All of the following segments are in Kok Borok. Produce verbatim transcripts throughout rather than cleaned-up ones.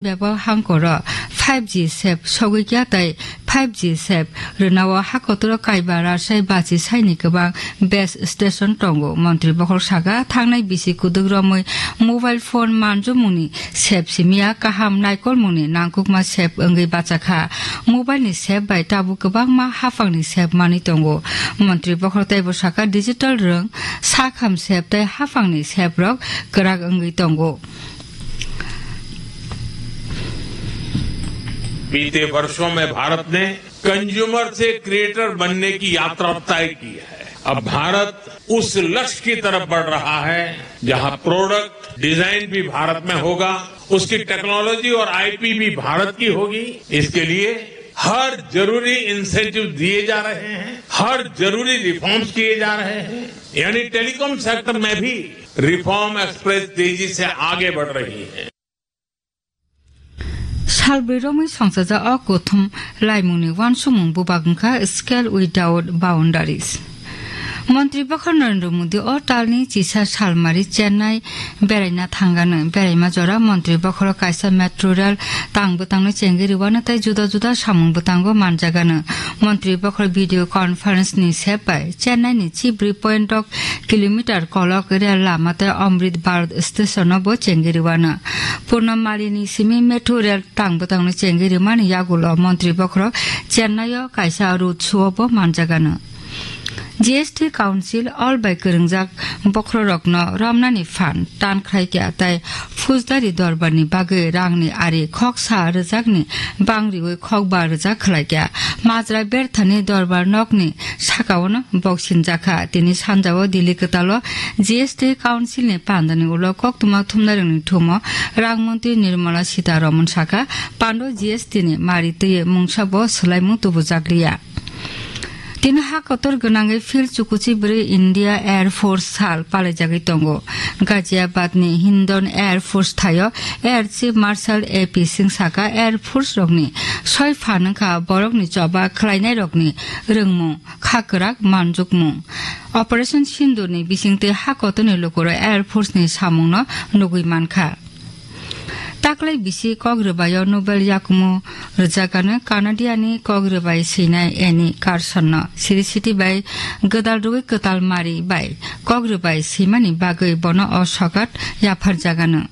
Bebak hangkoro five G sep sogwi kya tei five G sep rwnao ha kotoro kaiba rajai bachi saini kwbang base station tongo. Montri bokhorok saka, thangnai bisi kuduk romwi mobile phone manjumungni sep simiya kaham naikolmungni nangkukma sep wngwi bachakha. Mobile ni sep bai tabuk kwbangma haphangni sep manwi tongo. Montri bokhorok teibo saka, digital rwng, sakham sep tei haphangni sep rok kwrak wngwi tongo. बीते वर्षों में भारत ने कंज्यूमर से क्रिएटर बनने की यात्रा तय की है। अब भारत उस लक्ष्य की तरफ बढ़ रहा है, जहां प्रोडक्ट डिजाइन भी भारत में होगा, उसकी टेक्नोलॉजी और आईपी भी भारत की होगी। इसके लिए हर जरूरी इंसेंटिव दिए जा रहे हैं, हर जरूरी रिफॉर्म्स किए जा रहे हैं। यानी टेलीकॉम सेक्टर में भी रिफॉर्म एक्सप्रेस तेजी से आगे बढ़ रही है। Salbrwi romwi songchaja o kuthum laimungni uansukmung bubak wngkha Scale Without Boundaries. Montri bokhor Narendra Modi o talni chisa salmari Chennai beraina thangano. Beraima jora montri bokhoro kaisa metro rail tang bwtangno chengwi rwano tei juda juda samung bwtango manjagano. Montri bokhoro video conference ni sep bai Chennai ni chibrwi point rok kilometer kolok rail lama tei Amrit Bharat station no bo chengwi rwano. Purno Mali ni simi metro rail tang bwtangno chengwi rwmani yagulo montri bokhorok Chennai o kaisa road show o bo manjagano. G S T Council all bai kwrwngjak bokhorokno romnani phan tan khlai kha tei Fujlari dorbarni bagwi rangni ari khoksa rwjakni bang riwi khokba rwjak khlai kha. Majra berthani dorbar nokni sakaono boksinjakha. Tini sanjao Delhi kwtalo G S T Council ni pandani ulo koktwma thumnairokni thumo rang montri Nirmala Sitharaman saka, pando G S T ni mari twi mungsa bo swlaimung tubujakliya. Tini ha kotor gwnangwi field chukuchi bwrwi India Air Force sal palaijagwi tongo. Ghaziabad ni Hindon Air Force thaio Air Chief Marshal A P Singh saka, Air Force rokni soi phan wngkha borokni choba khlainai rokni rwngmung, kha kwrak manjukmung. Operation Sindoor ni bisingtwi ha kotorni lukurok Air Force ni samungno nugwi mankha. Taklai bisi kok rwbaio Nobel yakumu rwjakano Canadiani kok rwbai swinai Annie Carson no siri siti bai gwdal rwui kwtal mari bai kok rwbai swimani bagwi bono o sokat yapharjagano.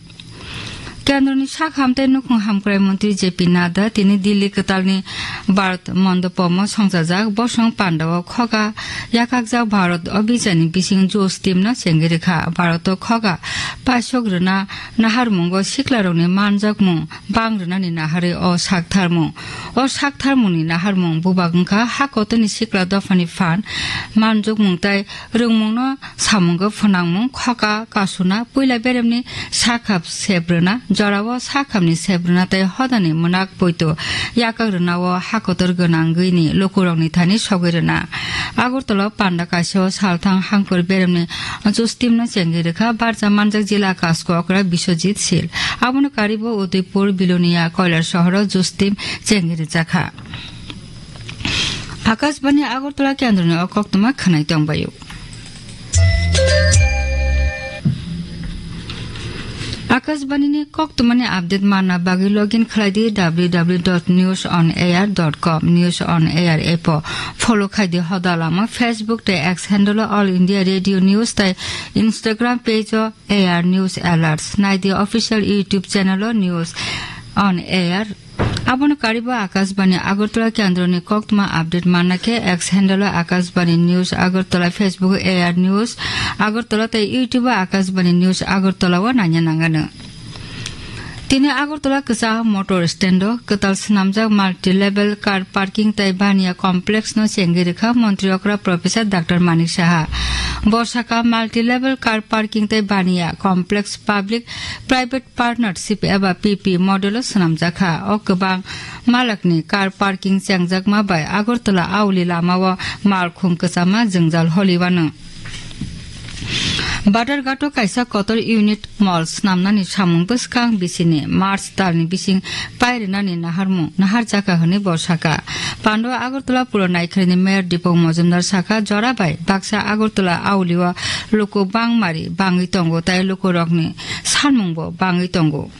Kendroni sak hamtei nukhung hamkrai montri J P Nadda tini Delhi kwtalni Bharat Mandapomo songchajak. Bosong pandao khoga yakakjak Bharat Abhijanni bising Jush teamno chengwi rwkha. Bharato khoga paisok rwna naharmungo siklarokni manjakmung bang rwnani naharwi o saktharmung. O saktharmungni naharmung bubak wngkha ha kotorni sikla dophani phan manjukmung tei rwngmungno samungo phwnangmung, khoka kasuna, puila beremni sakhap sep rwna, jorao sakhamni sep rwna tei hodani mwnak poito yakak rwnao hakotor gwnangwini lukurokni thani sogwi rwna. Agartala panda kaisao salthang hangkor beremni Jush teamno chengwi rwkha barja manjak jila kasko okra Biswajit Sil. Abono karibo Udaipur, Bilonia, Koilar sohoro Jush team chengwi rwjakha. Akashbani Agartala kendroni o koktwma khwnai tongbaio. Akashbani ni koktwmani update manna bagwi login khlai di W W W dot news on air dot com, News on Air app o follow khai di hoda lama, Facebook tei X handle o All India Radio News tei Instagram page o A R News Alerts, nai di official YouTube channel o News on Air. Abono karibo Akashbani Agartala kendroni koktwma update manna khe X handle o Akashbani News Agartala, Facebook o A R News Agartala tei YouTube o Akashbani News Agartala o naina nangano. Tini Agartala kwchak motor stand o kwtal swnamjak multi-level car parking tei baniya complex no chengwi rwkha montri okra Professor Doctor Manik Saha. Bo saka multi-level car parking tei baniya complex public private partnership eba P P model o swnamjakha. O kwbang malakni car parking chengjakma bai Agartala Auli lama o malkhung kwchama jwngjal holiwano. Badharghat o kaisa kotor unit mall swnamnani samung bwskang bisini March talni bising pairwnani naharmung naharjakha hwnwi bo saka. Pando Agartala pura naikharni mayor Deepak Majumdar saka, jora bai baksa Agartala Auli o luku bangmari bangwi tongo tei lukurokni sanmungbo bangwi tongo.